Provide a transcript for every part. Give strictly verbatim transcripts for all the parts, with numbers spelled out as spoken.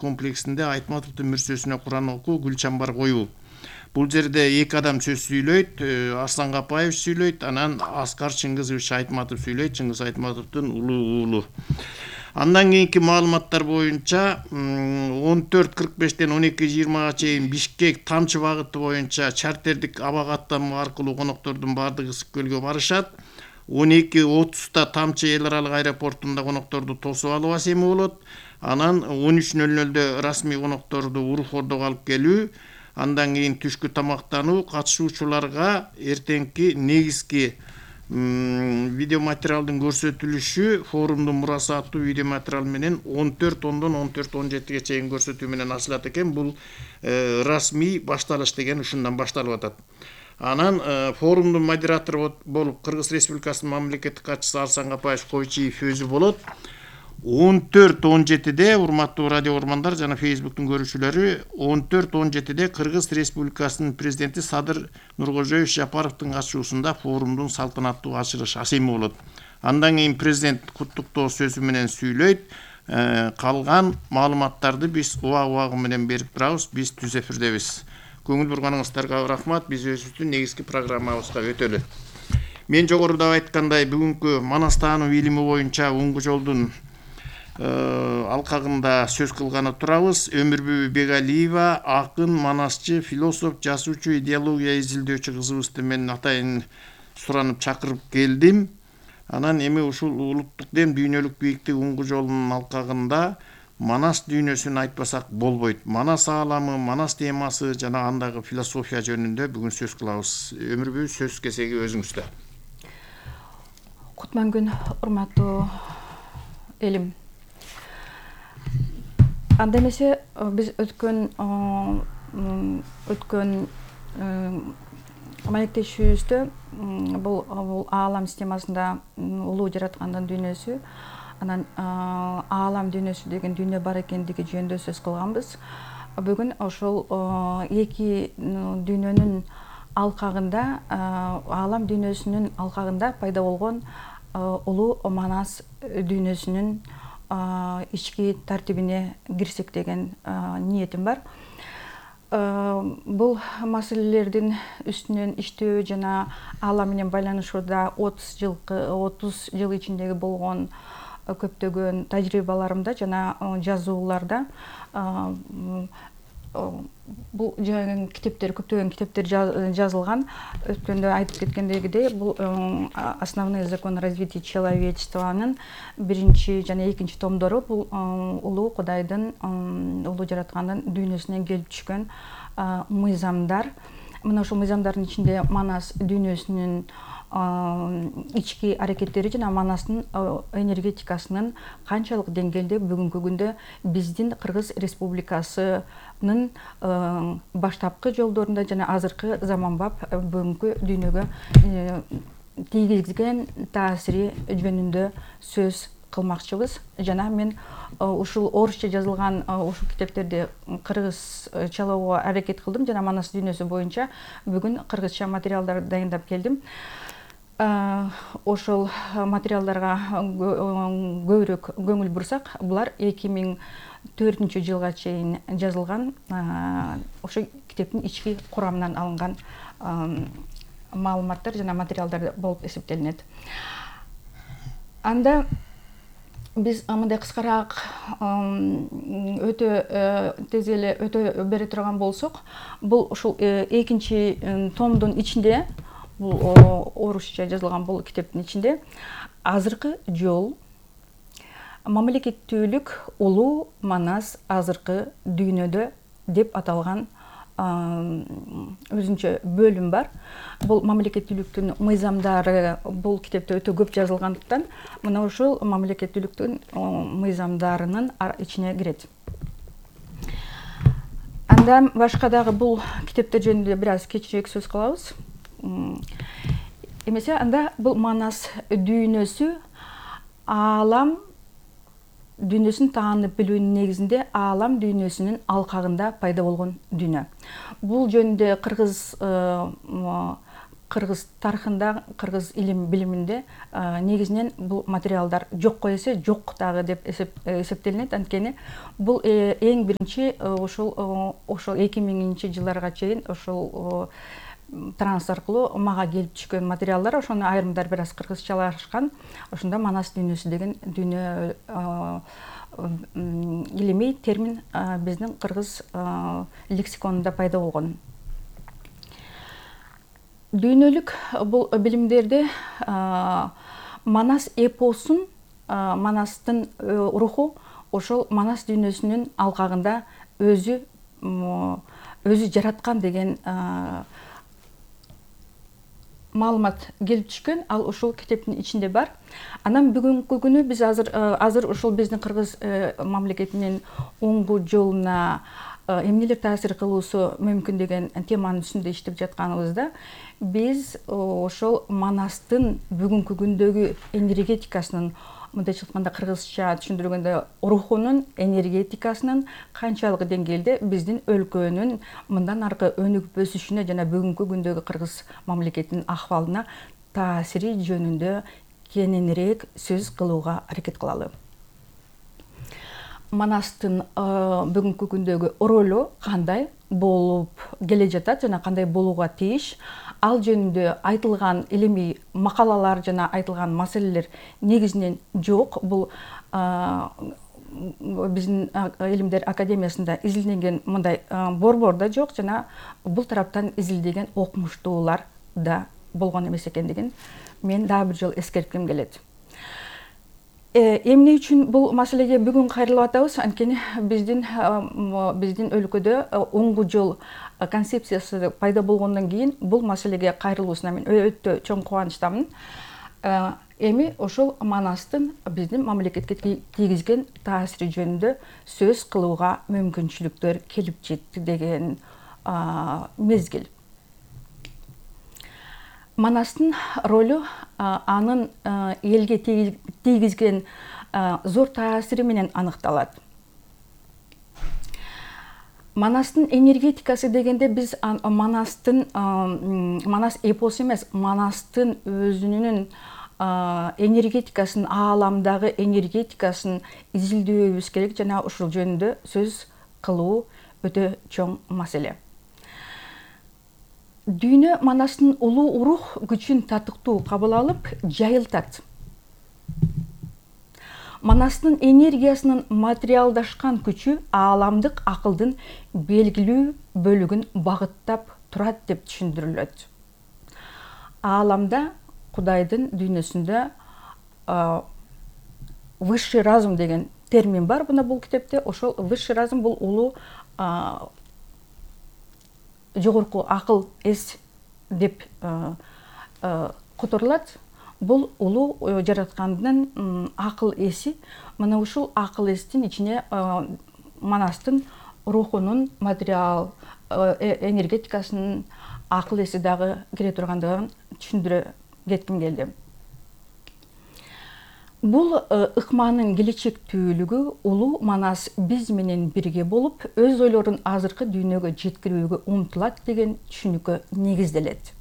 комплексинде Айтматовдун мүрсөсүнө Куран окуу, гүл чамбар коюу. Бул жерде эки адам сөз сүйлөйт, Арслан Капаев сүйлөйт, анан Аскар Чыңгызович Айтматов сүйлөйт, Чыңгыз Айтматовдун улуу уулу. Андан кийинки маалыматтар боюнча он төрт кырк бештен он эки жыйырмага чейин Бишкек Тамчы багыты боюнча чартердик аба каттамы аркылуу коноктордун баардыгы Ысык көлгө барышат. он эки отузда Тамчы эл аралык аэропортунда конокторду тосуп алуу асеми болот. Анан он үч нөл нөлдө расмий конокторду Урух Ордого алып келүү, андан кийин түшкү тамактануу, катышуучуларга эртеңки негизги видеоматериалдын көрсөтүлүшү форумдун мурасы аттуу видеоматериал менен он төрт ондон он төрт он жетиге чейин көрсөтүү менен ачылат экен. Бул расмий башталыш деген ушундан башталып атат. Анан форумдун модератору болуп Кыргыз Республикасынын мамлекеттик катчысы Арслан Капаев Койчиев өзү болот. он төрт он жетиде урматтуу радио угармандар жана Facebooктун көрүүчүлөрү, он төрт он жетиде Кыргыз Республикасынын президенти Садыр Нуркожоевич Жапаровдун ачуусунда форумдун салтанаттуу ачылыш асеми болот. Андан кийин президент куттуктоо сөзү менен сүйлөйт. Калган маалыматтарды биз убак-убагы менен берип турабыз. Биз түз эфирдебиз. Көңүл бурганыңыздарга рахмат. Биз өзүбүздүн негизги программабызга өтөлү. Мен жогоруда айткандай, бүгүнкү Манас таануу илими боюнча оңгу жолдун алкагында сөз кылганы турабыз. Өмүрбү Бегалиева, акын, манасчы, философ, жазуучу, идеология изилдөөчү кызыбызды мен атайын суранып чакырып келдим. Анан эми ушул улуттук дем дүйнөлүк бийиктик оңгу жолунун алкагында Манас дүйнөсүн айтпасак болбойт. Манас ааламы, Манас темасы жана андагы философия жөнүндө бүгүн сөз кылабыз. Өмүрбү, сөз кезеги өзүңүздө. Кутман күн, урматтуу элим. Анда эмесе биз өткөн өткөн маектешүүбүздө бул аалам системасында улуу жараткандын дүйнөсү, анан аалам дүйнөсү деген дүйнө бар экендиги жөнүндө сөз кылганбыз. Бүгүн ошол эки дүйнөнүн алкагында, аалам дүйнөсүнүн алкагында пайда болгон улуу Манас дүйнөсүнүн ички тартибине кирсек деген ниетим бар. Бул маселелердин үстүнөн иштөө жана аалам менен байланышууда отуз жыл ичиндеги болгон көптөгөн тажрыйбаларымда жана жазууларда бул китептер, көптөгөн китептер жазылган. Өткөндө айтып кеткендегидей, бул основные законы развития человечествонун биринчи жана экинчи томдору бул улуу Кудайдын, улуу жараткандын дүйнөсүнөн келип түшкөн мыйзамдар. Мына ошол мыйзамдардын ичинде Манас дүйнөсүнүн ички аракеттери жана Манастын энергетикасынын канчалык деңгээлде бүгүнкү күндө биздин Кыргыз Республикасынын баштапкы жолдорунда жана азыркы заманбап бүгүнкү дүйнөгө тийгизген таасири жөнүндө сөз кылмакчыбыз. Жана мен ушул орусча жазылган ушул китептерди кыргызчалоого аракет кылдым жана Манас дүйнөсү боюнча бүгүн кыргызча материалдар дайындап келдим. Ошол материалдарга көбүрөөк көңүл бурсак, булар эки миң төртүнчү жылга чейин жазылган, ошо китептин ички курамынан алынган маалыматтар жана материалдар болуп эсептелинет. Анда биз мындай кыскараак өтө тез эле өтө бере турган болсок, бул ушул экинчи томдун ичинде, бул орусча жазылган бул китептин ичинде азыркы жол, мамлекеттүүлүк улуу Манас азыркы дүйнөдө деп аталган өзүнчө бөлүм бар. Бул мамлекеттүүлүктүн мыйзамдары бул китепте өтө көп жазылгандыктан, мына ушул мамлекеттүүлүктүн мыйзамдарынын ичине кирет. Андан башка дагы бул китептер жөнүндө бир аз кечирээк сөз кылабыз. Эмесе анда бул Манас дүйнөсү аалам дүйнөсүн таанып билүүнүн негизинде аалам дүйнөсүнүн алкагында пайда болгон дүйнө. Бул жөнүндө кыргыз кыргыз тарыхында, кыргыз илим билиминде негизинен бул материалдар жокко эсе жок дагы деп эсептелинет. Анткени бул эң биринчи ошол ошол эки миңинчи жылдарга чейин ошол транс аркылуу мага келип түшкөн материалдар, ошону айрымдар бир аз кыргызчалашкан. Ошондо манас дүйнөсү деген дүйнө илимий термин биздин кыргыз лексиконунда пайда болгон. Дүйнөлүк бул билимдерде манас эпосун, манастын руху ошол манас дүйнөсүнүн алкагында өзү өзү жараткан деген маалымат келип түшкөн. Ал ушул китептин ичинде бар. Анан бүгүнкү күнү биз азыр азыр ушул биздин кыргыз мамлекетинин оңгу жолуна эмнелер таасир кылуусу мүмкүн деген теманын үстүндө иштеп жатканыбызда биз ошол манастын бүгүнкү күндөгү энергетикасынын, мындайча айтканда кыргызча түшүндүргөндө рухунун, энергетикасынын канчалык деңгээлде биздин өлкөнүн мындан аркы өнүгүп өсүшүнө жана бүгүнкү күндөгү кыргыз мамлекетинин акыбалына таасири жөнүндө кененирээк сөз кылууга аракет кылалы. Манастын бүгүнкү күндөгү ролу кандай болуп келе жатат жана кандай болууга тийиш, ал жөнүндө айтылган илимий макалалар жана айтылган маселелер негизинен жок. Бул биздин Илимдер академиясында изилденген мындай борбор да жок жана бул тараптан изилдеген окумуштуулар да болгон эмес экендигин мен дагы бир жолу эскертким келет. Эмне үчүн бул маселеге бүгүн кайрылып атабыз? Анткени биздин биздин өлкөдө оңгу жол концепциясы пайда болгондон кийин бул маселеге кайрылуусуна мен өтө чоң кубанычтамын. Эми ошол манастын биздин мамлекетке тийгизген таасири жөнүндө сөз кылууга мүмкүнчүлүктөр келип жетти деген мезгил. Манастын ролу анын элге тийгизген зор таасири менен аныкталат. Манастын энергетикасы дегенде биз манастын манас эпосу эмес, манастын өзүнүн энергетикасын, ааламдагы энергетикасын изилдөөбүз керек жана ушул жөнүндө сөз кылуу өтө чоң маселе. Дүйнө манастын улуу рух күчүн татыктуу кабыл алып, жайылтат. Манастын энергиясынын материалдашкан күчү ааламдык акылдын белгилүү бөлүгүн багыттап турат деп түшүндүрүлөт. Ааламда, Кудайдын дүйнөсүндө высший разум деген термин бар мына бул китепте. Ошол высший разум бул улуу жогорку акыл эс деп которулат. Бул улуу жараткандын акыл эси. Мына ушул акыл эстин ичине манастын рухунун, материал энергетикасынын акыл эси дагы кире тургандыгын түшүндүрө кетким келди. Бул ыкманын келечектүүлүгү улуу манас биз менен бирге болуп, өз ойлорун азыркы дүйнөгө жеткирүүгө умтулат деген түшүнүккө негизделет.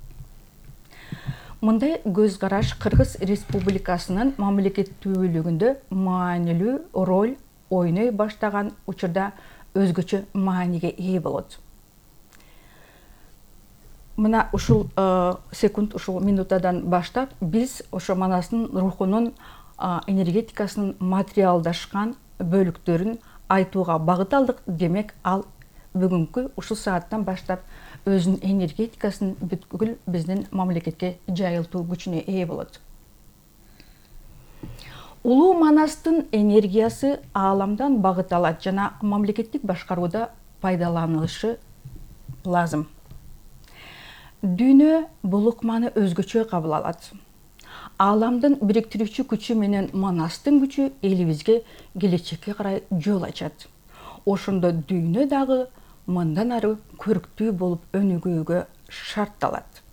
Мындай көз караш Кыргыз Республикасынын мамлекеттүүлүгүндө маанилүү роль ойной баштаган учурда өзгөчө мааниге ээ болот. Мына ушул секунд, ушул минутадан баштап биз ошо манастын рухунун, энергетикасынын материалдашкан бөлүктөрүн айтууга багыт алдык. Демек, ал бүгүнкү ушул сааттан баштап өзүнүн энергетикасын бүткүл биздин мамлекетке жайылтуу күчүнө ээ болот. Улуу манастын энергиясы ааламдан багыт алат жана мамлекеттик башкарууда пайдаланылышы лазым. Дүйнө бул ыкманы өзгөчө кабыл алат. Ааламдын бириктирүүчү күчү менен манастын күчү элибизге келечекке карай жол ачат. Ошондо дүйнө дагы мындан ары көрктүү болуп өнүгүүгө шартталат.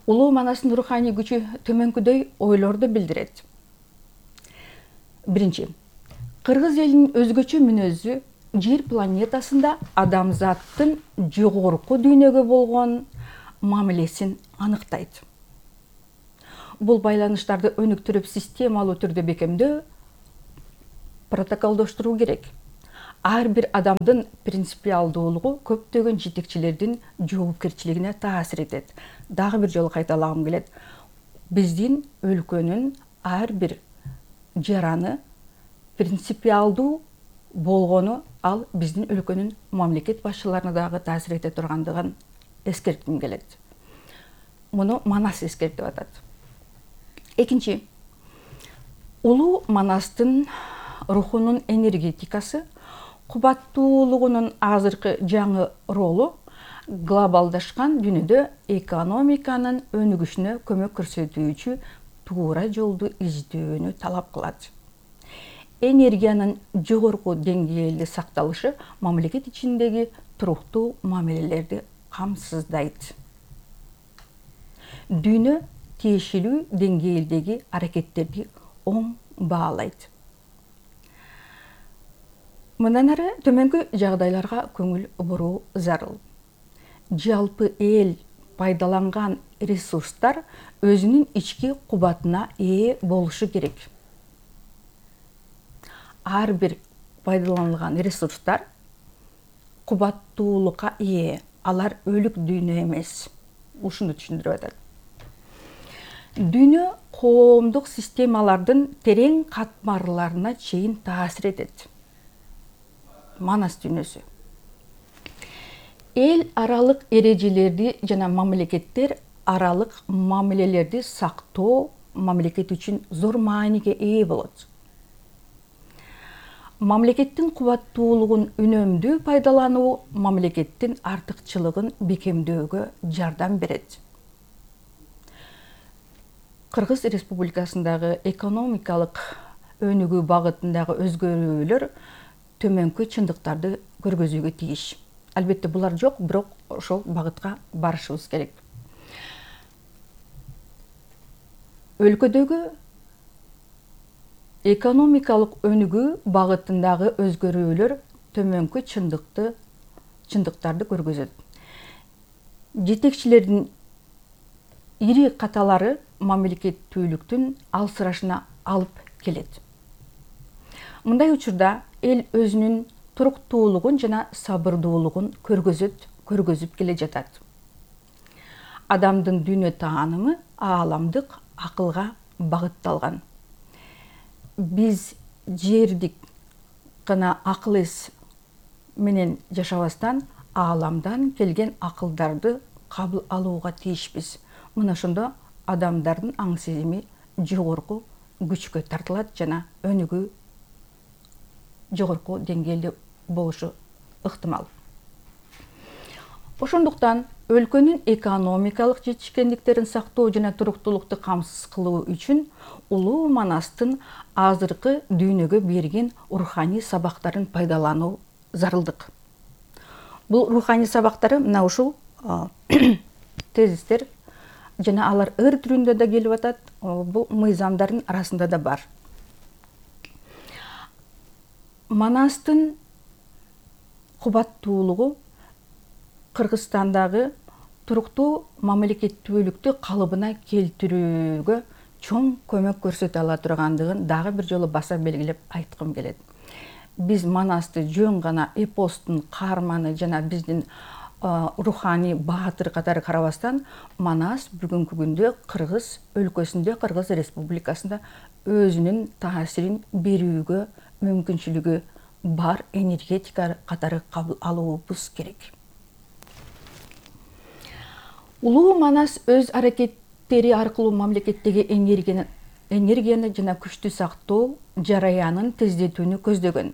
Улуу манастын руханий күчү төмөнкүдөй ойлорду билдирет. Биринчи, кыргыз элинин өзгөчө мүнөзү жер планетасында адамзаттын жогорку дүйнөгө болгон мамилесин аныктайт. Бул байланыштарды өнүктүрүп системалуу түрдө бекемдөө, протоколдоштуруу керек. Ар бир адамдын принципиалдуулугу көптөгөн жетекчилердин жоопкерчилигине таасир этет. Дагы бир жолу кайталагым келет. Биздин өлкөнүн ар бир жараны принципиалдуу болгону ал биздин өлкөнүн мамлекет башчыларына дагы таасир эте тургандыгын эскертким келет. Муну Манас эскертип атат. Экинчи, улуу Манастын рухунун энергетикасы, кубаттуулугунун азыркы жаңы ролу глобалдашкан дүйнөдө экономиканын өнүгүшүнө көмөк көрсөтүүчү туура жолду издөөнү талап кылат. Энергиянын жогорку деңгээлде сакталышы мамлекет ичиндеги туруктуу мамилелерди камсыздайт. Дүйнө тиешелүү деңгээлдеги аракеттерди оң баалайт. Мындан ары төмөнкү жагдайларга көңүл буруу зарыл. Жалпы эл пайдаланган ресурстар өзүнүн ички кубатына ээ болушу керек. Ар бир пайдаланылган ресурстар кубаттуулукка ээ, алар өлүк дүйнө эмес. Ушуну түшүндүрүп атат. Дүйнө коомдук системалардын терең катмарларына чейин таасир этет. Манас дүйнөсү. Эл аралык эрежелерди жана мамлекеттер аралык мамилелерди сактоо мамлекет үчүн зор мааниге ээ болот. Мамлекеттин кубаттуулугун үнөмдүү пайдалануу мамлекеттин артыкчылыгын бекемдөөгө жардам берет. Кыргыз Республикасындагы экономикалык өнүгүү багытындагы өзгөрүүлөр төмөнкү чындыктарды көргөзүүгө тийиш. Албетте булар жок, бирок ошол багытка барышыбыз керек. Өлкөдөгү экономикалык өнүгүү багытындагы өзгөрүүлөр төмөнкү чындыкты чындыктарды көргөзөт. Жетекчилердин ири каталары мамлекеттүүлүктүн алсырашына алып келет. Мындай учурда эл өзүнүн туруктуулугун жана сабырдуулугун көргөзөт, көргөзүп келе жатат. Адамдын дүйнө таанымы ааламдык акылга багытталган. Биз жердик гана акыл эс менен жашабастан ааламдан келген акылдарды кабыл алууга тийишпиз. Мына ошондо адамдардын аң сезими жогорку күчкө тартылат жана өнүгүү жогорку деңгээлде болушу ыктымал. Ошондуктан өлкөнүн экономикалык жетишкендиктерин сактоо жана туруктуулукту камсыз кылуу үчүн улуу Манастын азыркы дүйнөгө берген руханий сабактарын пайдалануу зарылдык. Бул руханий сабактары мына ушул тезистер жана алар ыр түрүндө да келип атат, бул мыйзамдардын арасында да бар. Манастын кубаттуулугу Кыргызстандагы туруктуу мамлекеттүүлүктү калыбына келтирүүгө чоң көмөк көрсөтө ала тургандыгын дагы бир жолу баса белгилеп айткым келет. Биз Манасты жөн гана эпостун каарманы жана биздин руханий баатыр катары карабастан, Манас бүгүнкү күндө Кыргыз өлкөсүндө, Кыргыз Республикасында өзүнүн таасирин берүүгө мүмкүнчүлүгү бар энергетика катары кабыл алуубуз керек. Улуу Манас өз аракеттери аркылуу мамлекеттеги энергияны, энергияны жана күчтү сактоо жараянын тездетүүнү көздөгөн.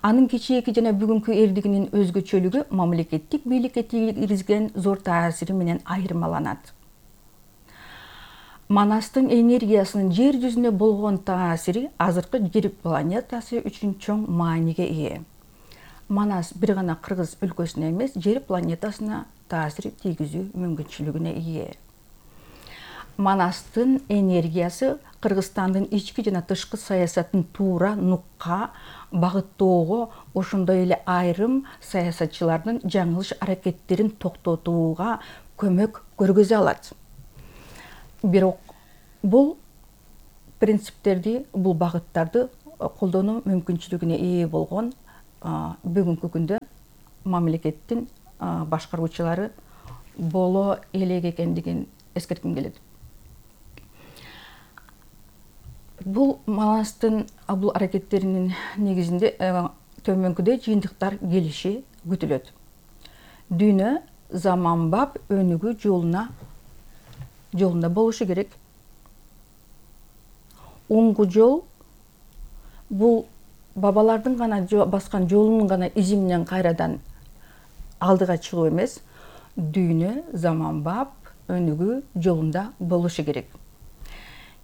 Анын кечээки жана бүгүнкү эрдигинин өзгөчөлүгү мамлекеттик бийликке тийгизген зор таасири менен айырмаланат. Манастын энергиясынын жер жүзүнө болгон таасири азыркы жер планетасы үчүн чоң мааниге ээ. Манас бир гана Кыргыз өлкөсүнө эмес, жер планетасына таасир тийгизүү мүмкүнчүлүгүнө ээ. Манастын энергиясы Кыргызстандын ички жана тышкы саясатын туура нукка багыттоого, ошондой эле айрым саясатчылардын жаңылыш аракеттерин токтотууга көмөк көргөзө алат. Бирок бул принциптерди, бул багыттарды колдонуу мүмкүнчүлүгүнө ээ болгон бүгүнкү күндө мамлекеттин башкаруучулары боло элек экендигин эскертким келет. Бул Манастын бул аракеттеринин негизинде төмөнкүдөй жыйынтыктар келиши күтүлөт. Дүйнө заманбап өнүгүү жолуна жолунда болушу керек. Оңгу жол бул бабалардын гана баскан жолунун гана изи менен кайрадан алдыга чыгуу эмес, дүйнө заманбап өнүгүү жолунда болушу керек.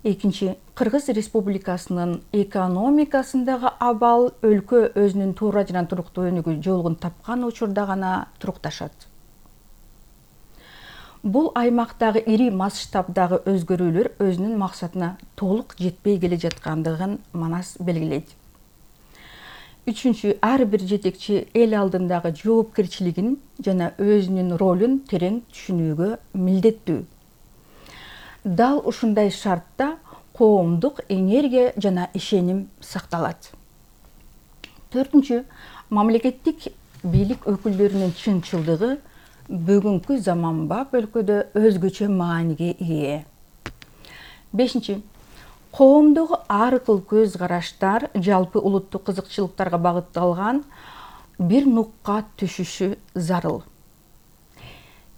Экинчи, Кыргыз Республикасынын экономикасындагы абал өлкө өзүнүн туура жана туруктуу өнүгүү жолун тапкан учурда гана турукташат. Бул аймактагы ири масштабдагы өзгөрүүлөр өзүнүн максатына толук жетпей келе жаткандыгын Манас белгилейт. Үчүнчү, ар бир жетекчи эл алдындагы жоопкерчилигин жана өзүнүн ролун терең түшүнүүгө милдеттүү. Дал ушундай шартта коомдук энергия жана ишеним сакталат. Төртүнчү, мамлекеттик бийлик өкүлдөрүнүн чынчылдыгы бүгүнкү заманбап өлкөдө өзгөчө мааниге ээ. Бешинчи, коомдогу ар кыл көз караштар жалпы улуттук кызыкчылыктарга багытталган бир нукка түшүшү зарыл.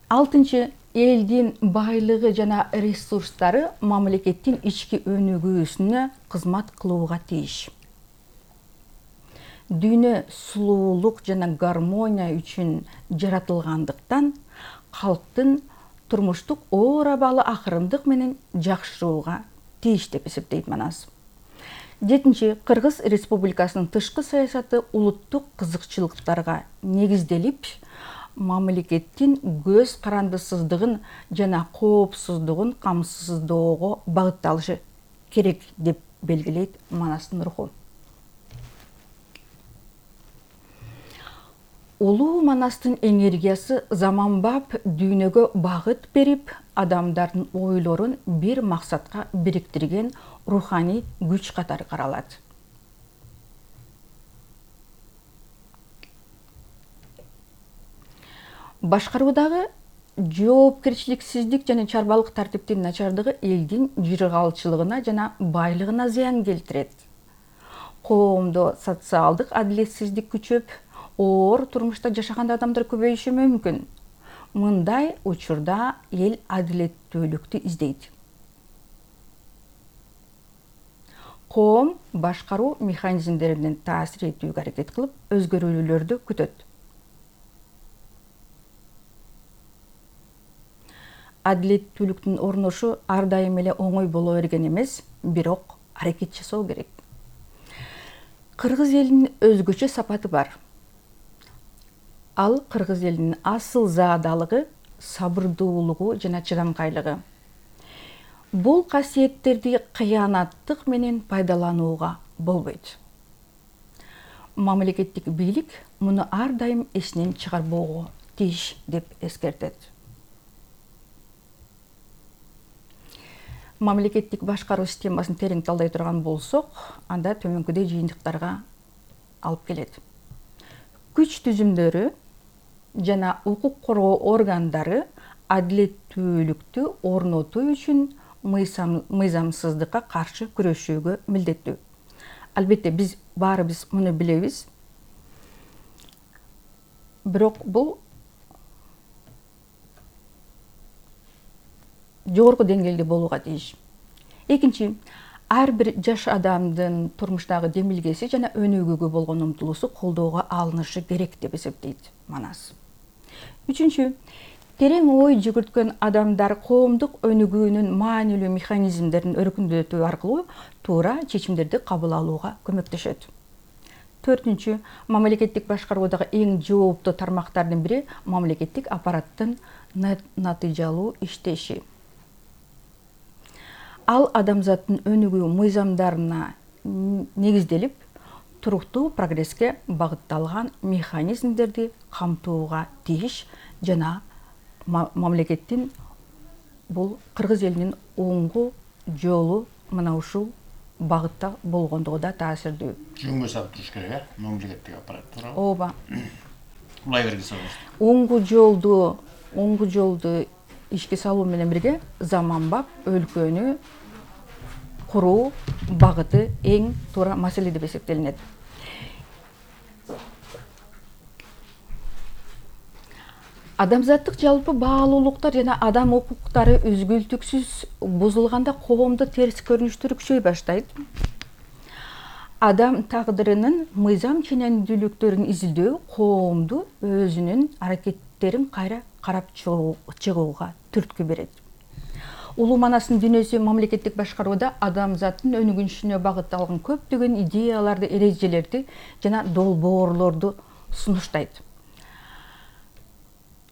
Алтынчы, элдин байлыгы жана ресурстары мамлекеттин ички өнүгүүсүнө кызмат кылууга тийиш. Дүйнө сулуулук жана гармония үчүн жаратылгандыктан калктын турмуштук оор абалы акырындык менен жакшырууга тийиш деп эсептейт Манас. Жетинчи, Кыргыз Республикасынын тышкы саясаты улуттук кызыкчылыктарга негизделип, мамлекеттин көз карандысыздыгын жана коопсуздугун камсыздоого багытталышы керек деп белгилейт Манастын руху. Улуу Манастын энергиясы заманбап дүйнөгө багыт берип, адамдардын ойлорун бир максатка бириктирген руханий күч катары каралат. Башкаруудагы жоопкерчиликсиздик жана чарбалык тартиптин начардыгы элдин жыргалчылыгына жана байлыгына зыян келтирет. Коомдо социалдык адилетсиздик күчөп, оор турмушта жашаган адамдар көбөйүшү мүмкүн. Мындай учурда эл адилеттүүлүктү издейт. Коом башкаруу механизмдеринен таасир этүүгө аракет кылып, өзгөрүүлөрдү күтөт. Адилеттүүлүктүн орношу ар дайым эле оңой боло берген эмес, бирок аракет жасоо керек. Кыргыз элинин өзгөчө сапаты бар. Ал кыргыз элинин асыл заадалыгы, сабырдуулугу жана чыдамкайлыгы. Бул касиеттерди кыянаттык менен пайдаланууга болбойт. Мамлекеттик бийлик муну ар дайым эсинен чыгарбоого тийиш деп эскертет. Мамлекеттик башкаруу системасын терең талдай турган болсок, анда төмөнкүдөй жыйынтыктарга алып келет. Күч түзүмдөрү жана укук коргоо органдары адилеттүүлүктү орнотуу үчүн мыйзамсыздыкка каршы күрөшүүгө милдеттүү. Албетте биз баарыбыз муну билебиз. Бирок бул жогорку деңгээлде болууга тийиш. Экинчи, ар бир жаш адамдын турмуштагы демилгеси жана өнүгүүгө болгон умтулуусу колдоого алынышы керек деп эсептейт Манас. Үчүнчү, терең ой жүгүрткөн адамдар коомдук өнүгүүнүн маанилүү механизмдерин өркүндөтүү аркылуу туура чечимдерди кабыл алууга көмөктөшөт. Төртүнчү, мамлекеттик башкаруудагы эң жооптуу тармактардын бири мамлекеттик аппараттын натыйжалуу иштеши. ал адамзаттын өнүгүү мыйзамдарына негизделип туруктуу прогресске багытталган механизмдерди камтууга тийиш жана мамлекеттин бул кыргыз элинин оңгу жолу мына ушул багытта болгондугу да таасирдүү. Жөнгө салып туруш керек, э? Мамлекеттик аппарат туурабы? Ооба. Улай бергиле. Оңгу жолду, оңгу жолду ишке салуу менен бирге заманбап өлкөнү куруу багыты эң туура маселе деп эсептелинет. Адамзаттык жалпы баалуулуктар жана адам укуктары үзгүлтүксүз бузулганда коомдо терс көрүнүштөр күчөй баштайт. Адам тагдырынын мыйзам ченемдүүлүктөрүн изилдөө коомду өзүнүн аракеттерин кайра карап чыгууга түрткү берет. Улуу Манастын дүйнөсү мамлекеттик башкарууда адамзаттын өнүгүшүнө багытталган көптөгөн идеяларды, эрежелерди жана долбоорлорду сунуштайт.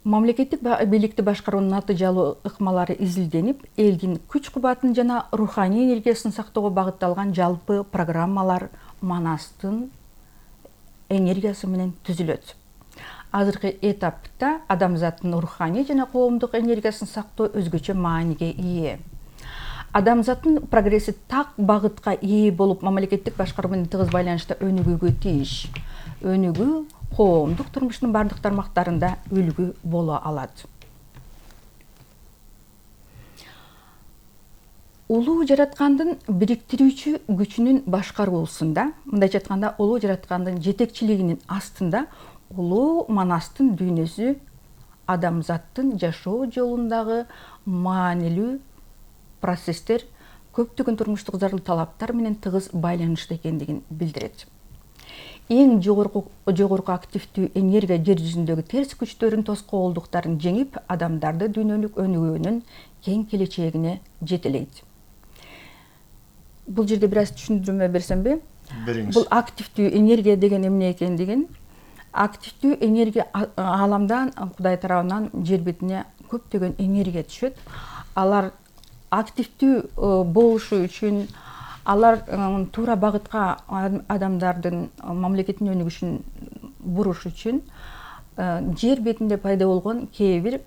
Мамлекеттик бийликти башкаруунун натыйжалуу ыкмалары изилденип, элдин күч-кубатын жана руханий энергиясын сактоого багытталган жалпы программалар Манастын энергиясы менен түзүлөт. Азыркы этапта адамзаттын руханий жана коомдук энергиясын сактоо өзгөчө мааниге ээ. Адамзаттын прогресси так багытка ээ болуп, мамлекеттик башкаруу менен тыгыз байланышта өнүгүүгө тийиш. Өнүгүү коомдук турмуштун бардык тармактарында үлгү боло алат. Улуу жараткандын бириктирүүчү күчүнүн башкаруусунда, мындайча айтканда, улуу жараткандын жетекчилигинин астында улуу Манастын дүйнөсү адамзаттын жашоо жолундагы маанилүү процесстер көптөгөн турмуштук зарыл талаптар менен тыгыз байланышта экендигин билдирет. Эң жогорку жогорку активдүү энергия жер жүзүндөгү терс күчтөрүн, тоскоолдуктарын жеңип, адамдарды дүйнөлүк өнүгүүнүн кең келечегине жетелейт. Бул жерде бир аз түшүндүрмө берсемби? Бериңиз. Бул активдүү энергия деген эмне экендигин, активдүү энергия ааламдан, Кудай тарабынан жер бетине көптөгөн энергия түшөт. Алар активдүү болушу үчүн, алар туура багытка адамдардын мамлекеттин өнүгүшүн буруш үчүн жер бетинде пайда болгон кээ бир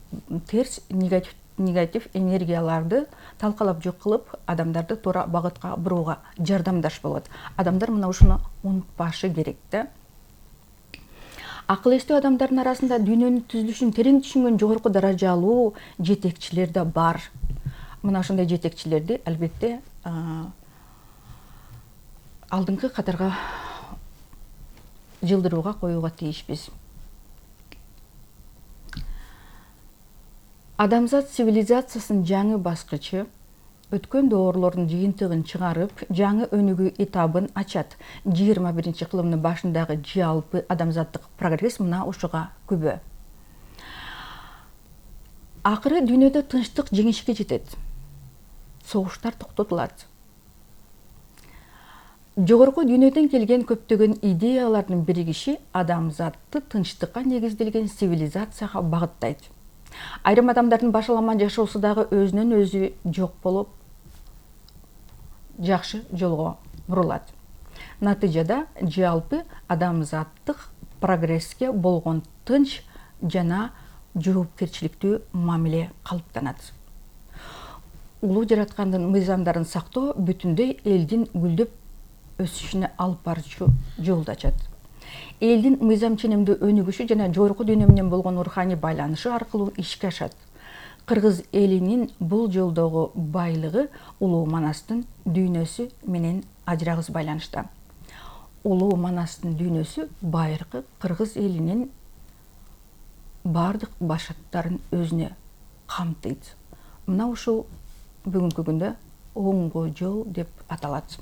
терс негатив негатив энергияларды талкалап жок кылып, адамдарды туура багытка бурууга жардамдаш болот. Адамдар мына ушуну унутпашы керек да. Акыл эстүү адамдардын арасында дүйнөнүн түзүлүшүн терең түшүнгөн жогорку даражалуу жетекчилер да бар. Мына ошондой жетекчилерди албетте алдыңкы катарга жылдырууга коюуга тийишпиз. Адамзат цивилизациясынын жаңы баскычы өткөн доорлордун жыйынтыгын чыгарып, жаңы өнүгүү этабын ачат. жыйырма биринчи кылымдын башындагы жалпы адамзаттык прогресс мына ушуга күбө. Акыры дүйнөдө тынчтык жеңишке жетет. Согуштар токтотулат. Жогорку дүйнөдөн келген көптөгөн идеялардын биригиши адамзатты тынчтыкка негизделген цивилизацияга багыттайт. Айрым адамдардын башаламан жашоосу дагы өзүнөн өзү жок болуп, жакшы жолго бурулат. Натыйжада жалпы адамзаттык прогресске болгон тынч жана жоопкерчиликтүү мамиле калыптанат. Улуу жараткандын мыйзамдарын сактоо бүтүндөй элдин гүлдөп өсүшүнө алып баруучу жолду ачат. Элдин мыйзам ченемдүү өнүгүшү жана жогорку дүйнө менен болгон руханий байланышы аркылуу ишке ашат. Кыргыз элинин бул жолдогу байлыгы Улуу Манастын дүйнөсү менен ажырагыс байланышта. Улуу Манастын дүйнөсү байыркы кыргыз элинин бардык башаттарын өзүнө камтыйт. Мына ушул бүгүнкү күндө оңго жол деп аталат.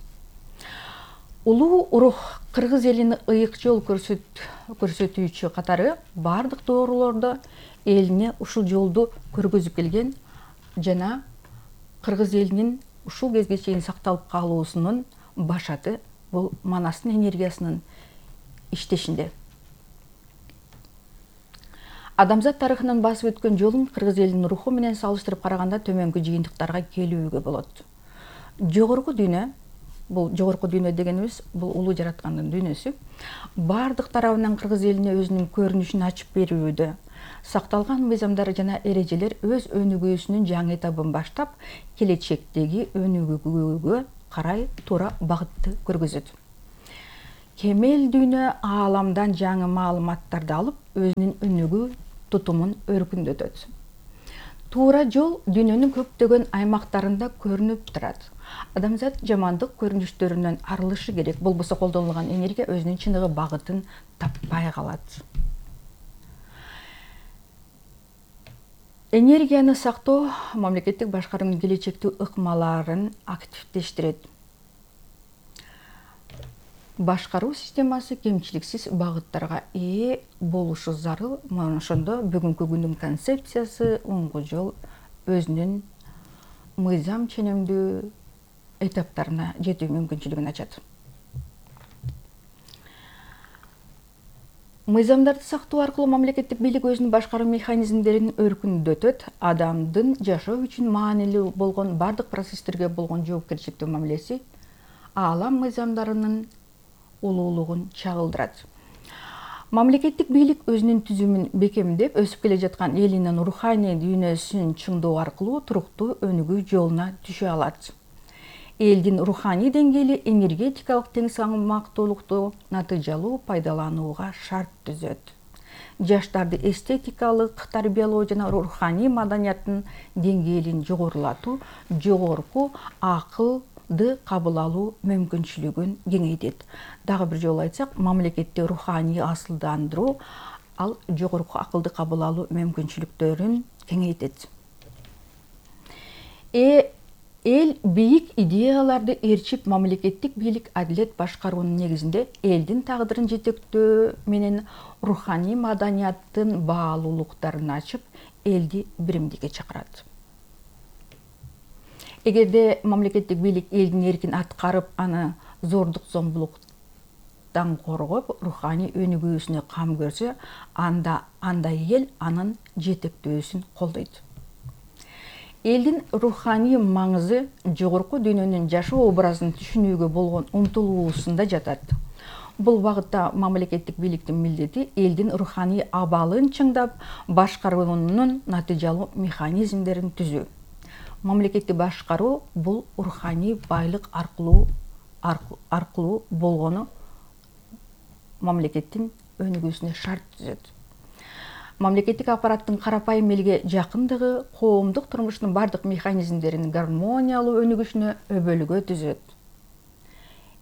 Улуу рух кыргыз элине ыйык жол көрсөтүүчү катары бардык доорлордо элине ушул жолду көргөзүп келген жана кыргыз элинин ушул кезге чейин сакталып калуусунун башаты бул Манастын энергиясынын иштешинде. Адамзат тарыхынын басып өткөн жолун кыргыз элинин руху менен салыштырып караганда төмөнкү жыйынтыктарга келүүгө болот. жогорку дүйнө, бул жогорку дүйнө дегенибиз бул улуу жараткандын дүйнөсү, бардык тарабынан кыргыз элине өзүнүн көрүнүшүн ачып берүүдө, сакталган мыйзамдар жана эрежелер өз өнүгүүсүнүн жаңы этабын баштап, келечектеги өнүгүүгө карай туура багытты көргөзөт. Кемел дүйнө ааламдан жаңы маалыматтарды алып, өзүнүн өнүгүү тутумун өркүндөтөт. Туура жол дүйнөнүн көптөгөн аймактарында көрүнүп турат. Адамзат жамандык көрүнүштөрүнөн арылышы керек. Болбосо колдонулган энергия өзүнүн чыныгы багытын таппай калат. Энергияны сактоо мамлекеттик башкаруунун келечектүү ыкмаларын активдештирет. Башкаруу системасы кемчиликсиз багыттарга ээ болушу зарыл. Мына ошондо бүгүнкү күндүн концепциясы оңго жол өзүнүн мыйзам ченемдүү этаптарына жетүү мүмкүнчүлүгүн ачат. Мыйзамдарды сактоо аркылуу мамлекеттик бийлик өзүнүн башкаруу механизмдерин өркүндөтөт, адамдын жашоо үчүн маанилүү болгон бардык процесстерге болгон жоопкерчиликтүү мамилеси аалам мыйзамдарынын улуулугун чагылдырат. Мамлекеттик бийлик өзүнүн түзүмүн бекемдеп, өсүп келе жаткан элинин руханий дүйнөсүн чыңдоо аркылуу туруктуу өнүгүү жолуна түшө алат. Элдин руханий деңгээли энергетикалык тең салмактуулукту натыйжалуу пайдаланууга шарт түзөт. Жаштарды эстетикалык тарбиялоо жана руханий маданияттын деңгээлин жогорулатуу, жогорку акылды кабыл алуу мүмкүнчүлүгүн кеңейтет. Дагы бир жолу айтсак, мамлекетти руханий асылдандыруу ал жогорку акылды кабыл алуу мүмкүнчүлүктөрүн кеңейтет. Э Эл бийик идеяларды ээрчип, мамлекеттик бийлик адилет башкаруунун негизинде элдин тагдырын жетектөө менен руханий маданияттын баалуулуктарын ачып, элди биримдикке чакырат. Эгерде мамлекеттик бийлик элдин эркин аткарып, аны зордук зомбулуктан коргоп, руханий өнүгүүсүнө кам көрсө, анда андай эл анын жетектөөсүн колдойт. Элдин руханий маңызы жогорку дүйнөнүн жашоо образын түшүнүүгө болгон умтулуусунда жатат. Бул багытта мамлекеттик бийликтин милдети элдин руханий абалын чыңдап, башкаруунун натыйжалуу механизмдерин түзүү. Мамлекетти башкаруу бул руханий байлык аркылуу аркылуу болгону мамлекеттин өнүгүүсүнө шарт түзөт. Мамлекеттик аппараттын карапайым элге жакындыгы коомдук турмуштун бардык механизмдеринин гармониялуу өнүгүшүнө өбөлгө түзөт.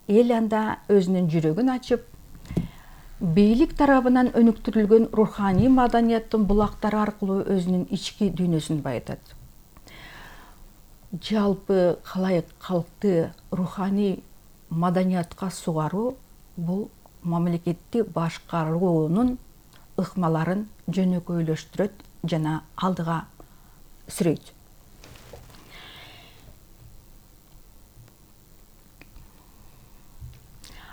Эл анда өзүнүн жүрөгүн ачып, бийлик тарабынан өнүктүрүлгөн руханий маданияттын булактары аркылуу өзүнүн ички дүйнөсүн байытат. Жалпы калайык калкты руханий маданиятка сугаруу бул мамлекетти башкаруунун ыкмаларын жөнөкөйлөштүрөт жана алдыга сүрөйт.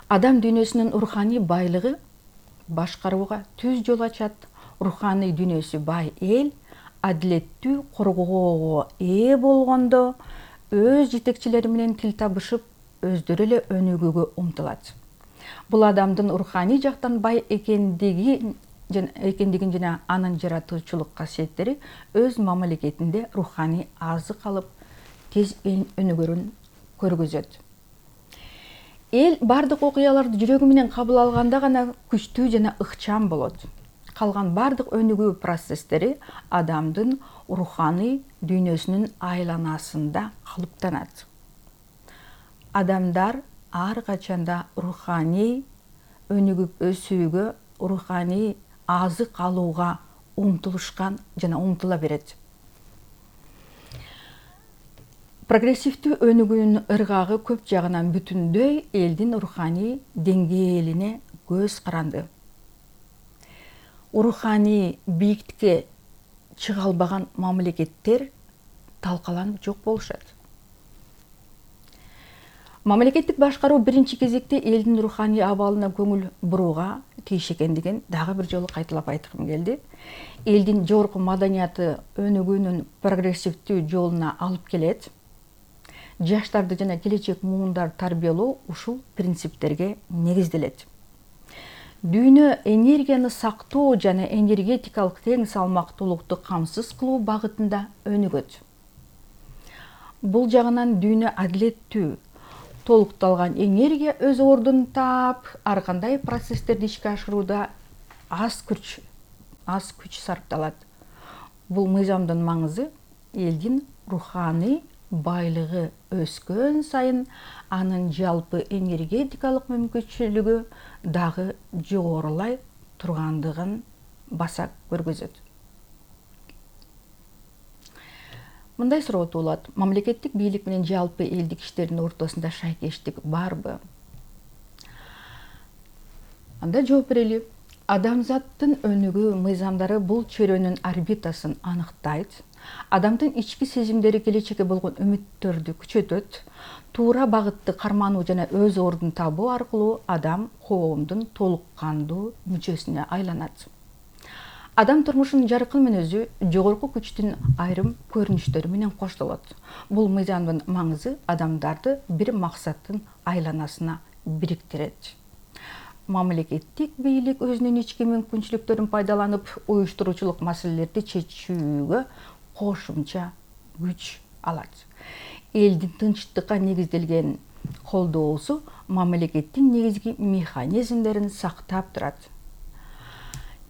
Адам дүйнөсүнүн руханий байлыгы башкарууга түз жол ачат. Руханий дүйнөсү бай эл адилеттүү коргоого ээ болгондо өз жетекчилери менен тил табышып, өздөрү эле өнүгүүгө умтулат. Бул адамдын руханий жактан бай экендиги экендигин жана анын жаратуучулук касиеттери өз мамлекетинде руханий азык алып, тез өнүгөрүн көргөзөт. Эл бардык окуяларды жүрөгү менен кабыл алганда гана күчтүү жана ыкчам болот. Калган бардык өнүгүү процесстери адамдын руханий дүйнөсүнүн айланасында калыптанат. Адамдар ар качанда руханий өнүгүп өсүүгө, руханий азык алууга умтулушкан жана умтула берет. Прогрессивдүү өнүгүүнүн ыргагы көп жагынан бүтүндөй элдин руханий деңгээлине көз каранды. Руханий бийиктикке чыга албаган мамлекеттер талкаланып жок болушат. Мамлекеттик башкаруу биринчи кезекте элдин руханий абалына көңүл бурууга тийиш экендигин дагы бир жолу кайталап айткым келди. Элдин жогорку маданияты өнүгүүнүн прогрессивдүү жолуна алып келет. жаштарды жана келечек муундарды тарбиялоо ушул принциптерге негизделет. Дүйнө энергияны сактоо жана энергетикалык тең салмактуулукту камсыз кылуу багытында өнүгөт. Бул жагынан дүйнө адилеттүү, толукталган энергия өз ордун таап, ар кандай процесстерди ишке ашырууда аз күч аз күч сарпталат. Бул мыйзамдын маңызы элдин руханий байлыгы өскөн сайын анын жалпы энергетикалык мүмкүнчүлүгү дагы жогорулай тургандыгын баса көргөзөт. Мындай суроо туулат: мамлекеттик бийлик менен жалпы элдик иштердин ортосунда шайкештик барбы? Анда жооп берели. Адамзаттын өнүгүү мыйзамдары бул чөйрөнүн орбитасын аныктайт. Адамдын ички сезимдери келечекке болгон үмүттөрдү күчөтөт. Туура багытты кармануу жана өз ордун табуу аркылуу адам коомдун толук кандуу мүчөсүнө айланат. Адам турмушунун жаркын мүнөзү жогорку күчтүн айрым көрүнүштөрү менен коштолот. Бул мыйзамдын маңызы адамдарды бир максаттын айланасына бириктирет. Мамлекеттик бийлик өзүнүн ички мүмкүнчүлүктөрүн пайдаланып, уюштуруучулук маселелерди чечүүгө кошумча күч алат. Элдин тынчтыкка негизделген колдоосу мамлекеттин негизги механизмдерин сактап турат.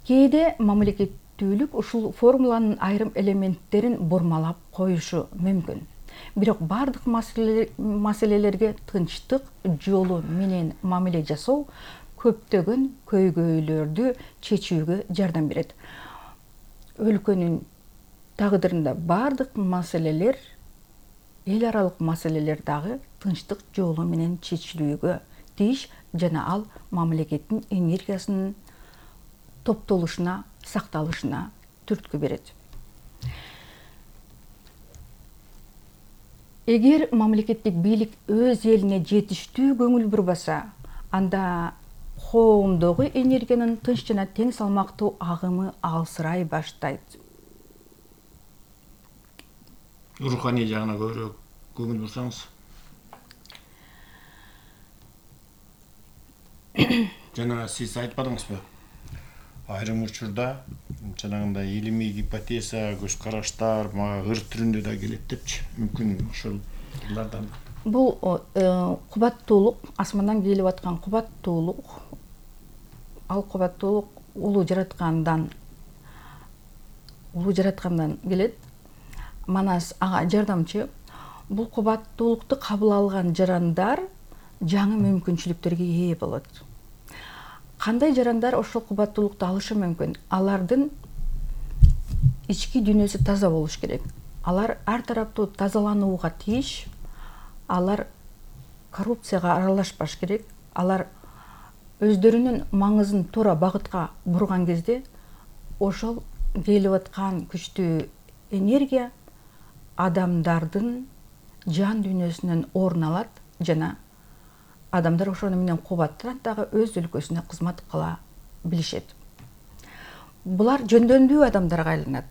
Кээде мамлекеттүүлүк ушул формуланын айрым элементтерин бурмалап коюшу мүмкүн. Бирок бардык маселелерге тынчтык жолу менен мамиле жасоо көптөгөн көйгөйлөрдү чечүүгө жардам берет. Өлкөнүн тагдырында бардык маселелер, эл аралык маселелер дагы тынчтык жолу менен чечилүүгө тийиш жана ал мамлекеттин энергиясынын топтолушуна, сакталышына түрткү берет. Эгер мамлекеттик бийлик өз элине жетиштүү көңүл бурбаса, анда коомдогу энергиянын тынч жана тең салмактуу агымы алсырай баштайт. Руханий жагына көбүрөөк көңүл бурсаңыз. Жана сиз айтпадыңызбы? Айрым учурда жанагындай илимий гипотеза, көз караштар мага ыр түрүндө да келет депчи. Мүмкүн ошол ырлардан. Бул кубаттуулук, асмандан келип аткан кубаттуулук, ал кубаттуулук улуу жараткандан улуу жараткандан келет. Манас ага жардамчы. Бул кубаттуулукту кабыл алган жарандар жаңы мүмкүнчүлүктөргө ээ болот. Кандай жарандар ошол кубаттуулукту алышы мүмкүн? Алардын ички дүйнөсү таза болуш керек. Алар ар тараптуу тазаланууга тийиш. Алар коррупцияга аралашпаш керек. Алар өздөрүнүн маңызын туура багытка бурган кезде ошол келип аткан күчтүү энергия адамдардын жан дүйнөсүнөн орун алат жана адамдар ошону менен кубаттанат дагы өз өлкөсүнө кызмат кыла билишет. Булар жөндөмдүү адамдарга айланат.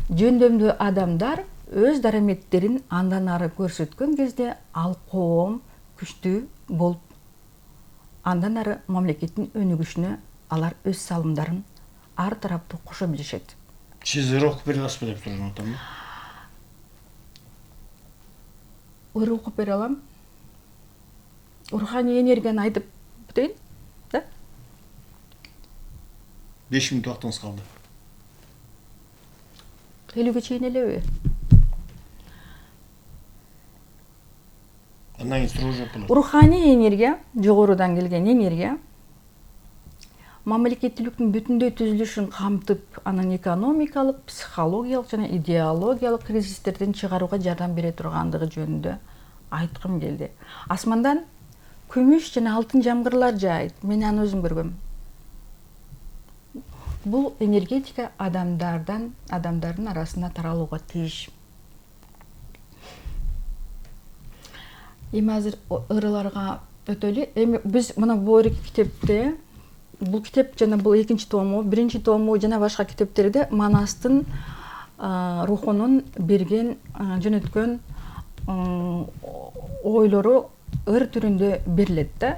Жөндөмдүү адамдар өз дараметтерин андан ары көрсөткөн кезде ал коом күчтүү болуп, андан ары мамлекеттин өнүгүшүнө алар өз салымдарын ар тараптуу кошо билишет. Сиз ыр окуп бере аласызбы деп сурап атам. Ыр окуп бере алам. Руханий энергияны айтып бүтөйүн, да? беш мүнөт убактыңыз калды. элүүгө чейин элеби? Андан кийин суроо жооп болот. Руханий энергия, жогорудан келген энергия мамлекеттүүлүктүн бүтүндөй түзүлүшүн камтып, анын экономикалык, психологиялык жана идеологиялык кризистерден чыгарууга жардам бере тургандыгы жөнүндө айткым келди. Асмандан күмүш жана алтын жамгырлар жаайт. Мен аны өзүм көргөм. Бул энергетика адамдардан, адамдардын арасына таралууга тийиш. Эми азыр ырыларга өтөлү. Эми биз мына бул китепте, бул китеп жана бул экинчи тому, биринчи тому жана башка китептерде Манастын рухунун берген, жөнөткөн ойлору ыр түрүндө берилет да.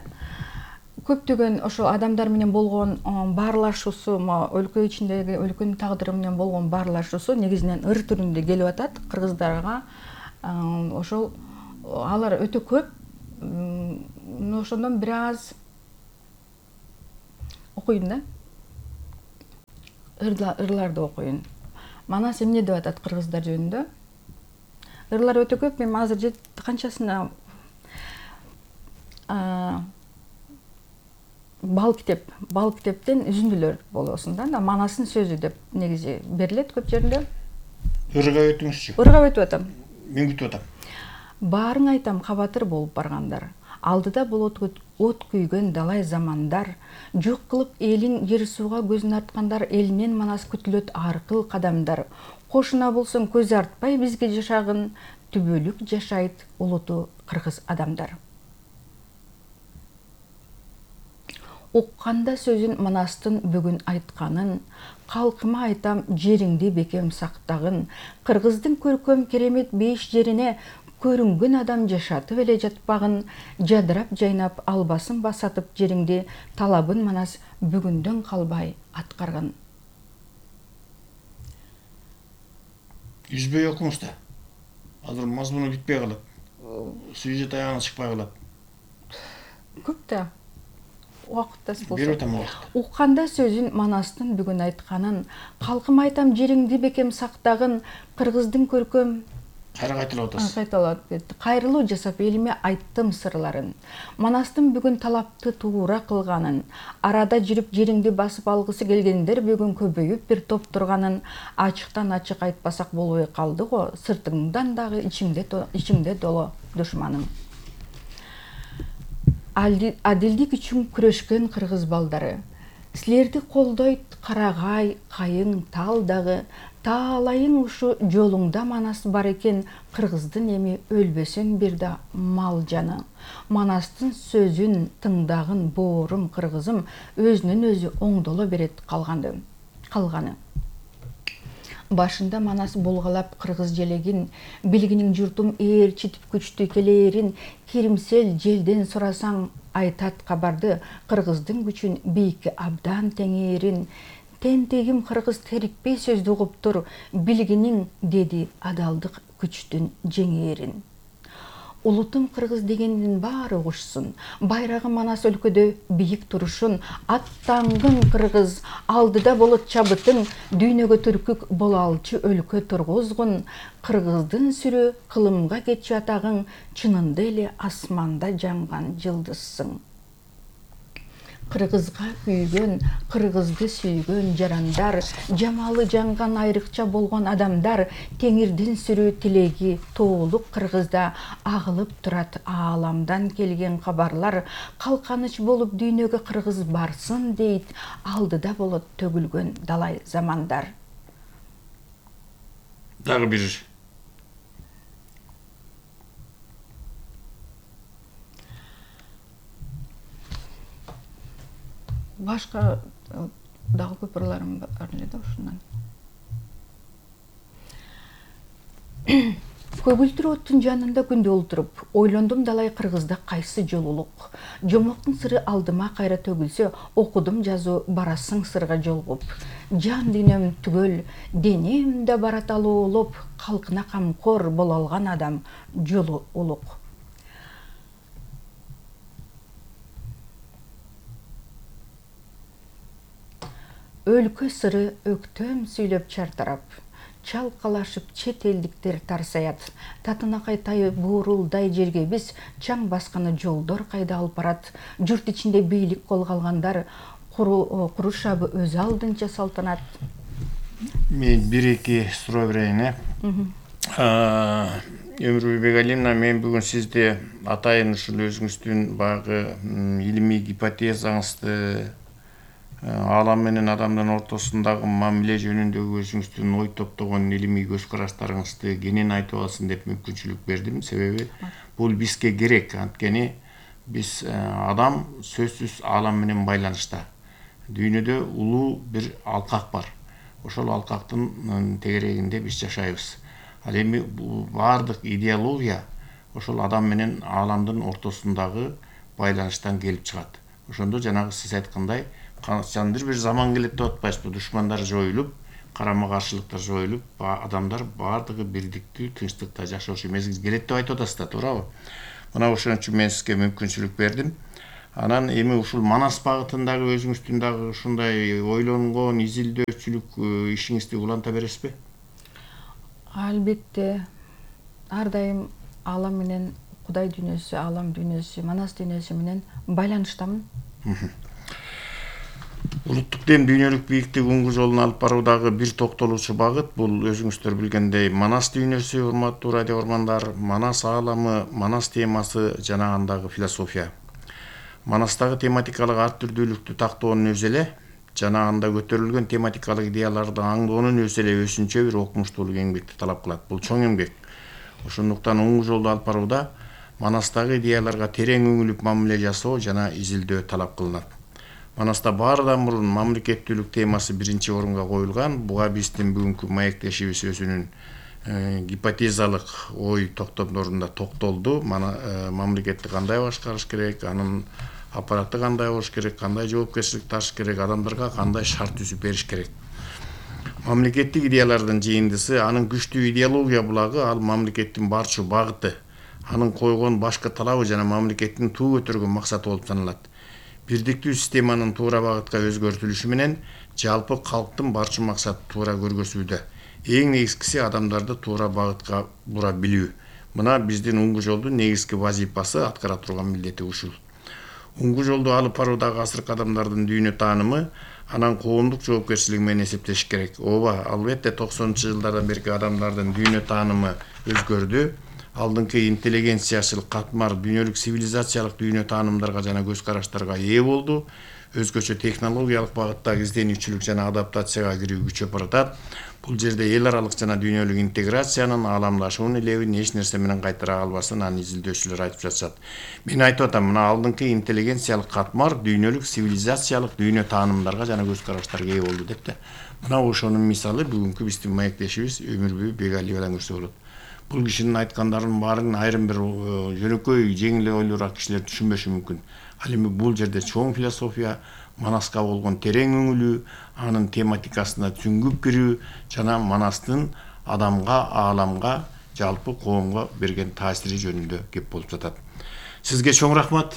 Көптөгөн ошо адамдар менен болгон баарлашуусу, өлкө ичиндеги өлкөнүн тагдыры менен болгон баарлашуусу негизинен ыр түрүндө келип атат кыргыздарга. Ошол алар өтө көп. Ошондон бир аз окуйм да. Ырларды окуйм. Манас эмне деп атат кыргыздар жөнүндө? Ырлар өтө көп. Мен азыр жет канчасына бал китеп, бал китептен үзүндүлөр болосун да. Манастын сөзү деп негизи берилет көп жеринде. Ырга өтүңүзчү. Ырга өтүп атам. Мен күтүп атам. Баарын айтам кабатыр болуп баргандар. Алдыда болот от күйгөн далай замандар. Жок кылып элин жер сууга көзүн арткандар, элинен манас күтүлөт ар кыл кадамдар. Кошуна болсоң көз артпай бизге жашагын, түбөлүк жашайт улуту кыргыз адамдар. Укканда сөзүн манастын бүгүн айтканын, калкыма айтам жериңди бекем сактагын, кыргыздын көркөм керемет беш жерине көрүнгөн адам жашатып эле жатпагын, жадырап жайнап албасын басатып жериңди, талабын манас бүгүндөн калбай аткаргын. Үзбөй окуңуз да. Азыр мазмуну бүтпөй калат. Сюжет аягына чыкпай калат. Көп да. Убакыттас болсо. Берип атам убакыт. Укканда сөзүн манастын бүгүн айтканын, калкыма айтам жериңди бекем сактагын, кыргыздын көркөм Кайра кайталап атасыз. Кайталап кетти. Кайрылуу жасап элиме айттым сырларын. Манастын бүгүн талапты туура кылганын, арада жүрүп жериңди басып алгысы келгендер бүгүн көбөйүп бир топ турганын, ачыктан ачык айтпасак болбой калды го, сыртыңдан дагы ичиңде ичиңде доло душманың. Адилдик үчүн күрөшкөн кыргыз балдары. Силерди колдойт карагай, кайың, тал дагы. Таалайың ушу жолуңда манас бар экен, кыргыздын эми өлбөсүн бир да мал жаны. Манастын сөзүн тыңдагын боорум кыргызым, өзүнөн өзү оңдоло берет калганы. Калганы. Башында манас булгалап кыргыз желегин, билгиниң журтум ээрчитип күчтүү келээрин, киримсел желден сурасаң айтат кабарды, кыргыздын күчүн бийикке абдан теңээрин. Тентегим кыргыз терикпей сөздү угуптур, билгиниң деди адалдык күчтүн жеңээрин. Улутум кыргыз дегендин баары угушсун, байрагы манас өлкөдө бийик турушун, аттангын кыргыз, алдыда болот чабытың, дүйнөгө түркүк болалчы өлкө тургузгун, кыргыздын сүрү кылымга кетчү атагың, чынында эле асманда жанган жылдызсың. Кыргызга күйгөн, кыргызды сүйгөн жарандар, жамалы жанган айрыкча болгон адамдар, теңирдин сүрүү тилеги тоолук кыргызда агылып турат ааламдан келген кабарлар, калканыч болуп дүйнөгө кыргыз барсын дейт, алдыда болот төгүлгөн далай замандар. Дагы бир. Башка дагы көп ырларым бар эле да ушундан. Көгүлтүр оттун жанында күндө олтуруп, ойлондум далай кыргызда кайсы жол улук. Жомоктун сыры алдыма кайра төгүлсө, окудум жазуу барасың сырга жолугуп. Жан дүйнөм түгөл, денем да барат алуулуп, калкына камкор боло алган адам жолу улук. Өлкө сыры өктөм сүйлөп чартарап, чалкалашып чет элдиктер тарсаят, татынакай тайы буурулдай жерге биз чаң басканы жолдор кайда алып барат, журт ичинде бийлик колго алгандар, курушабы өз алдынча салтанат. Мен бир эки суроо берейин, э? Өмүрбай Бегалиевна, мен бүгүн сизди атайын ушул өзүңүздүн баягы илимий гипотезаңызды, аалам менен адамдын ортосундагы мамиле жөнүндөгү өзүңүздүн ой топтогон илимий көз караштарыңызды кенен айтып алсын деп мүмкүнчүлүк бердим. Себеби бул бизге керек. Анткени биз адам сөзсүз аалам менен байланышта. Дүйнөдө улуу бир алкак бар. Ошол алкактын тегерегинде биз жашайбыз. Ал эми бул баардык идеология ошол адам менен ааламдын ортосундагы байланыштан келип чыгат. Ошондо жанагы сиз айткандай качандыр бир заман келет деп атпайсызбы, душмандар жоюлуп, карама каршылыктар жоюлуп, адамдар баардыгы бирдиктүү, тынчтыкта жашоочу мезгил келет деп айтып атасыз да, туурабы? Мына ошон үчүн мен сизге мүмкүнчүлүк бердим. Анан эми ушул Манас багытындагы өзүңүздүн дагы ушундай ойлонгон изилдөөчүлүк ишиңизди уланта бересизби? Албетте, ар дайым аалам менен Кудай дүйнөсү, аалам дүйнөсү, Манас дүйнөсү менен байланыштамын. Улуттук дем дүйнөлүк бийиктик уңгу жолун алып баруудагы бир токтолуучу багыт бул өзүңүздөр билгендей Манас дүйнөсү, урматтуу радио ормандар, Манас ааламы, Манас темасы жана андагы философия. Манастагы тематикалык ар түрдүүлүктү тактоонун өзү эле жана анда көтөрүлгөн тематикалык идеяларды аңдоонун өзү эле өзүнчө бир окумуштуулук эмгекти талап кылат. Бул чоң эмгек. Ошондуктан уңгу жолду алып барууда Манастагы идеяларга терең үңүлүп мамиле жасоо жана изилдөө талап кылынат. Манаста баардан мурун мамлекеттүүлүк темасы биринчи орунга коюлган. Буга биздин бүгүнкү маектешибиз өзүнүн гипотезалык ой токтомдорунда токтолду. Мамлекетти кандай башкарыш керек, анын аппараты кандай болуш керек, кандай жоопкерчилик тартыш керек, адамдарга кандай шарт түзүп бериш керек. Мамлекеттик идеялардын жыйындысы, анын күчтүү идеология булагы, ал мамлекеттин барчу багыты, анын койгон башкы талабы жана мамлекеттин туу көтөргөн максаты болуп саналат. Бирдиктүү системанын туура багытка өзгөртүлүшү менен жалпы калктын барчу максаты туура көргөзүүдө. Эң негизгиси адамдарды туура багытка бура билүү. Мына биздин уңгу жолдун негизги вазифасы, аткара турган милдети ушул. Уңгу жолду алып баруудагы асыркы адамдардын дүйнө таанымы, анан коомдук жоопкерчилиги менен эсептеш керек. Ооба, албетте токсонунчу жылдардан берки адамдардын дүйнө таанымы өзгөрдү. Алдыңкы интеллигенциячылык катмар дүйнөлүк цивилизациялык дүйнө таанымдарга жана көз караштарга ээ болду. Өзгөчө технологиялык багыттагы изденүүчүлүк жана адаптацияга кирүү күчөп баратат. Бул жерде эл аралык жана дүйнөлүк интеграциянын, ааламдашуунун элебин эч нерсе менен кайтара албасын, аны изилдөөчүлөр айтып жатышат. Мен айтып атам, мына алдыңкы интеллигенциялык катмар дүйнөлүк цивилизациялык дүйнө таанымдарга жана көз караштарга ээ болду деп да. Мына ошонун мисалы бүгүнкү биздин маектешибиз Өмүрбүй Бегалиевадан көрсө болот. Бул кишинин айткандарынын баарын айрым бир жөнөкөй, жеңил ойлуураак кишилер түшүнбөшү мүмкүн. Ал эми бул жерде чоң философия, Манаска болгон терең үңүлүү, анын тематикасына түңгүп кирүү жана Манастын адамга, ааламга, жалпы коомго берген таасири жөнүндө кеп болуп жатат. Сизге чоң рахмат.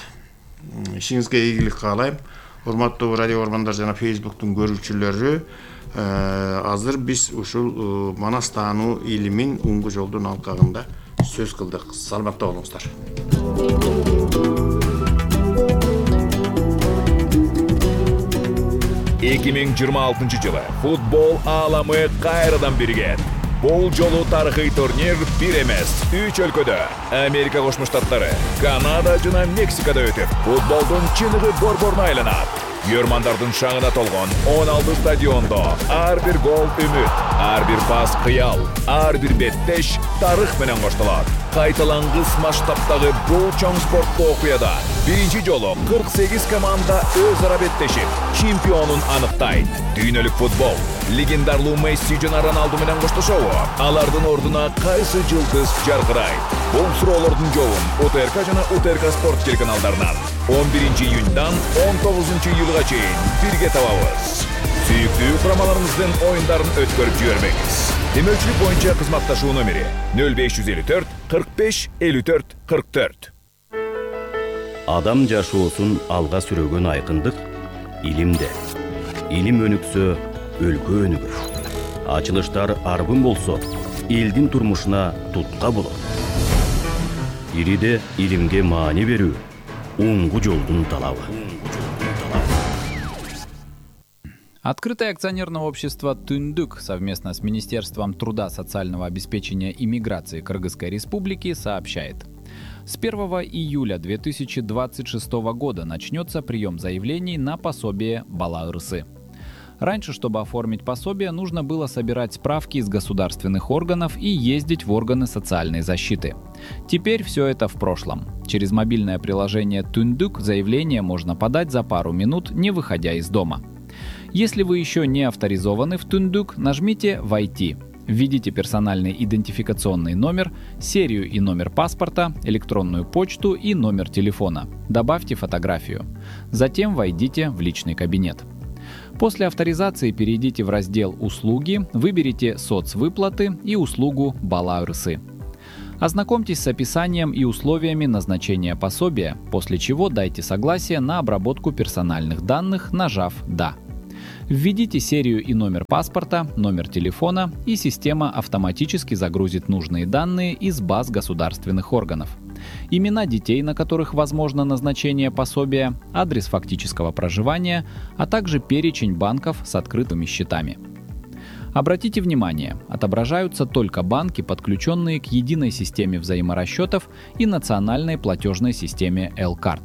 Ишиңизге ийгилик каалайм. Урматтуу радио ормандар жана Facebooктун көрүүчүлөрү, азыр биз ушул Манас таануу илимин уңгу жолдун алкагында сөз кылдык. Саламатта болуңуздар. эки миң жыйырма алтынчы жылы футбол ааламы кайрадан биригет. Бул жолу тарыхый турнир бир эмес, үч өлкөдө, Америка Кошмо Штаттары, Канада жана Мексикада өтүп, футболдун чыныгы борборуна айланат. Көрмандардын шаңына толгон он алты стадиондо ар бир гол үмүт, ар бир пас кыял, ар бир беттеш тарых менен коштолот. Кайталангыс масштабтагы бул чоң спорттуу окуяда биринчи жолу кырк сегиз команда өз ара беттешип, чемпионун аныктайт. Дүйнөлүк футбол легендарлуу Месси жана Роналду менен коштошобу? Алардын ордуна кайсы жылдыз жаркырайт? Бул суроолордун жообун УТРК жана УТРК спорт телеканалдарынан он биринчи июньдан он тогузунчу июлга чейин бирге табабыз. Сүйүктүү курамаларыңыздын оюндарын өткөрүп жибербеңиз. Демөөлчүлүк боюнча кызматташуу номери нөл беш жүз элүү төрт кырк беш элүү төрт кырк төрт. Адам жашоосун алга сүрөгөн айкындык илимде. Илим өнүксө, өлкө өнүгөр. Ачылыштар арбын болсо, элдин турмушуна тутка болот. Ириде илимге маани берүү уңгу жолдун талабы. Открытое акционерное общество «Түндүк» совместно с Министерством труда, социального обеспечения и миграции Кыргызской Республики сообщает. С первого июля две тысячи двадцать шестого года начнется прием заявлений на пособие Бала Ырсы. Раньше, чтобы оформить пособие, нужно было собирать справки из государственных органов и ездить в органы социальной защиты. Теперь все это в прошлом. Через мобильное приложение «Түндүк» заявление можно подать за пару минут, не выходя из дома. Если вы еще не авторизованы в «Түндүк», нажмите «Войти». Введите персональный идентификационный номер, серию и номер паспорта, электронную почту и номер телефона. Добавьте фотографию. Затем войдите в личный кабинет. После авторизации перейдите в раздел «Услуги», выберите «Соцвыплаты» и услугу «Бала ырысы». Ознакомьтесь с описанием и условиями назначения пособия, после чего дайте согласие на обработку персональных данных, нажав «Да». Введите серию и номер паспорта, номер телефона, и система автоматически загрузит нужные данные из баз государственных органов. Имена детей, на которых возможно назначение пособия, адрес фактического проживания, а также перечень банков с открытыми счетами. Обратите внимание, отображаются только банки, подключенные к единой системе взаиморасчетов и национальной платежной системе L-Card.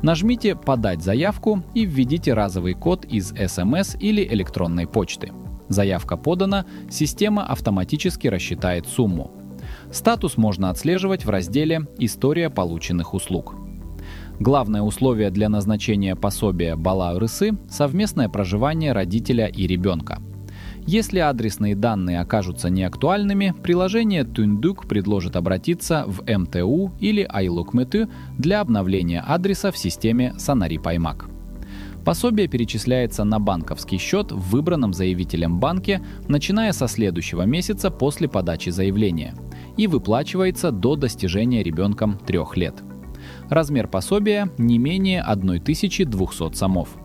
Нажмите «Подать заявку» и введите разовый код из эс эм эс или электронной почты. Заявка подана, система автоматически рассчитает сумму. Статус можно отслеживать в разделе «История полученных услуг». Главное условие для назначения пособия «Бала ырысы» — совместное проживание родителя и ребенка. Если адресные данные окажутся неактуальными, приложение Түндүк предложит обратиться в эм тэ у или Айлукмету для обновления адреса в системе Санари Паймак. Пособие перечисляется на банковский счет в выбранном заявителем банке, начиная со следующего месяца после подачи заявления, и выплачивается до достижения ребенком трех лет. Размер пособия не менее тысячи двухсот сомов.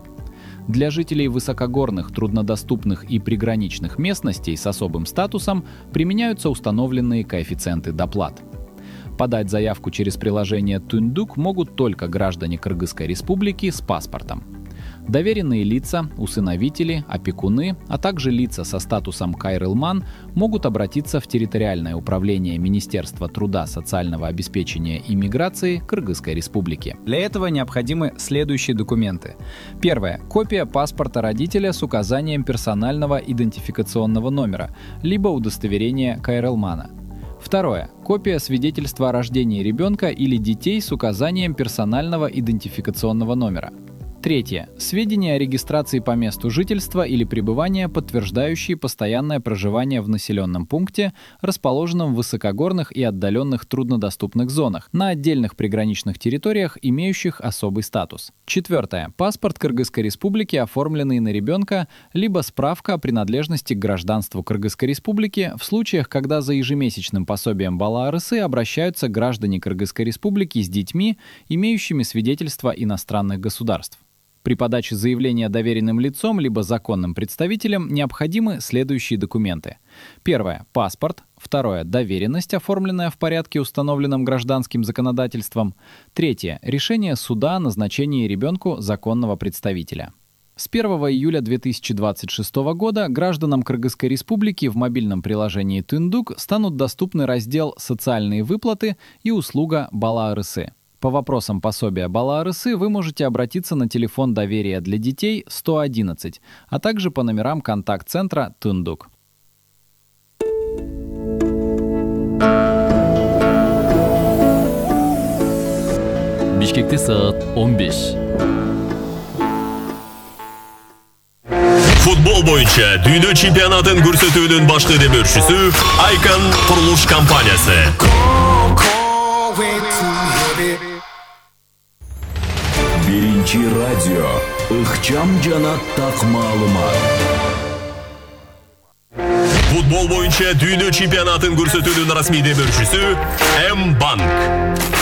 Для жителей высокогорных, труднодоступных и приграничных местностей с особым статусом применяются установленные коэффициенты доплат. Подать заявку через приложение Түндүк могут только граждане Кыргызской республики с паспортом. Доверенные лица, усыновители, опекуны, а также лица со статусом кайрылман могут обратиться в территориальное управление Министерства труда, социального обеспечения и миграции Кыргызской республики. Для этого необходимы следующие документы. Первое. Копия паспорта родителя с указанием персонального идентификационного номера, либо удостоверения кайрылмана. Второе. Копия свидетельства о рождении ребенка или детей с указанием персонального идентификационного номера. Третье. Сведения о регистрации по месту жительства или пребывания, подтверждающие постоянное проживание в населенном пункте, расположенном в высокогорных и отдаленных труднодоступных зонах, на отдельных приграничных территориях, имеющих особый статус. Четвертое. Паспорт Кыргызской республики, оформленный на ребенка, либо справка о принадлежности к гражданству Кыргызской республики в случаях, когда за ежемесячным пособием Бала ырысы обращаются граждане Кыргызской республики с детьми, имеющими свидетельство иностранных государств. При подаче заявления доверенным лицом либо законным представителем необходимы следующие документы. Первое. Паспорт. Второе. Доверенность, оформленная в порядке, установленном гражданским законодательством. Третье. Решение суда о назначении ребенку законного представителя. С первого июля две тысячи двадцать шестого года гражданам Кыргызской республики в мобильном приложении Түндүк станут доступны раздел «Социальные выплаты» и услуга «Бала ырысы». По вопросам пособия Бала ырысы вы можете обратиться на телефон доверия для детей сто одиннадцать, а также по номерам контакт-центра Түндүк. Бишкекте саат он беш. Футбол боюнча дүйнө чемпионатын көрсөтүүнүн башкы демөөрчүсү Айкан курулуш компаниясы. Биринчи радио ыкчам жана так маалымат. Футбол боюнча дүйнө чемпионатын көрсөтүүнүн расмий демөөрчүсү М-банк.